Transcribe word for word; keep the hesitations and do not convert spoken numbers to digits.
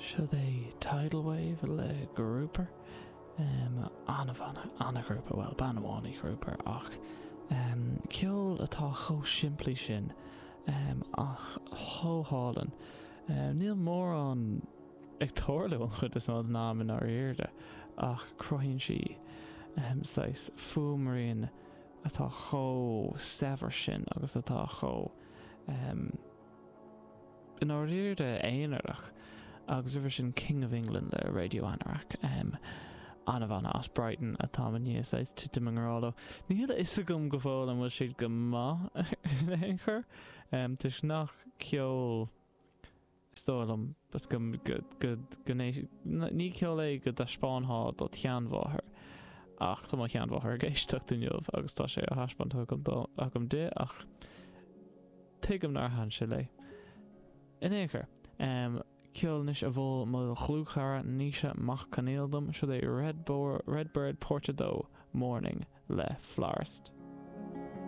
Seo é Tidal Wave le Grouper. Um, an-bhanna, an-ghrúpa well bean amháin í Grouper ach um, ceol atá chomh simplí sin um, ach chomh hálainn. Um, níl mórán ag tarlú an chuid is mó den am i ndáiríre ach cruthaíonn sí um, saghas fuaimrian atá chomh saibhir sin agus atá chomh um, i ndáiríre aonarach agus roimhe sin King of England le Radio Anorak. Um, an-bhanna as Brighton atá i ndiaidh saghas titim i ngrá leo. Níl a fhios agam go fóill an bhfuil siad go maith in aon chor um, toisc nach ceol is dóigh liom go go go go ní ceol é go dtaispeánfá do sheanmháthair ach tá mo sheanmháthair ag éisteacht inniu agus tá sé á thaispeáint agam agam di ach tuigim nár thaitin sé léi. In aon chor, um, ceol anois a mhol mo dhlúthchara Naoise Mac Conaill dom seo é Red Bo Redbird Port a dó Morning le Florist.